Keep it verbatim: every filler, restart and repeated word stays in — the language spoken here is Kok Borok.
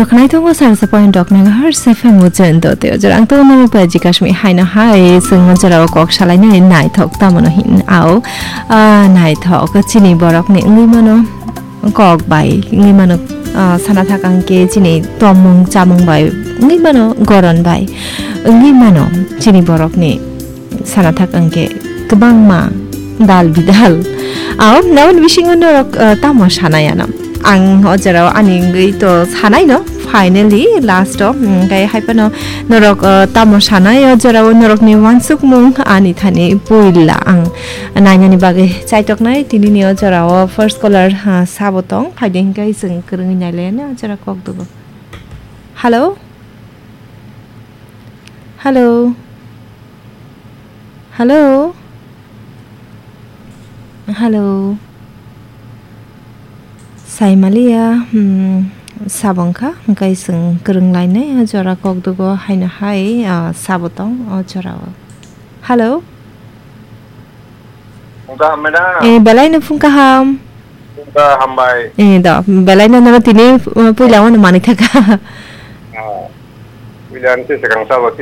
Khwnai tongo sarsa point rok megahertz F M o chen do teo jora ang tongo nang pai jikasmi haino hai sengma jora o kok salai nai naithok tamo no hin ao, ah, naithok chini borok ni wngwi mano kok bai wngwi mano, ah, sana thak ang ke chini tomung chamung bai wngwi mano goron bai wngwi mano chini borok ni sana thak ang ke kwbangma dal bidal. Ao, naboni bisingo norok, ah, tamo sanai ano? Ang o jora o ani wngwi to sanai no, finally, last o, mm, hwnkhe hai phano norok, ah, tamo sanai o jora o norok ni wansukmung ani thani puila ang nainani bagwi chaitoknai tini ni o jora o first caller, ah, sabo tong, phaidi hwnkhe chwng kwrwngwi nailaiya o jora kok dugo. Hello? Hello? Hello? Hello? Saimaliya, hmm, sabo wngkha, hwnkhe chwng kwrwng lainai o jora kok dugo haino hai, ah, sabo tong o jora o. Hello? Wngkha, madam. Eh, belai no phung kaham. Wngkha, hambai. Eh, do, belai no nono tini, uh, puila wano manwi thaka. Ah, puila ni se sekang sabo,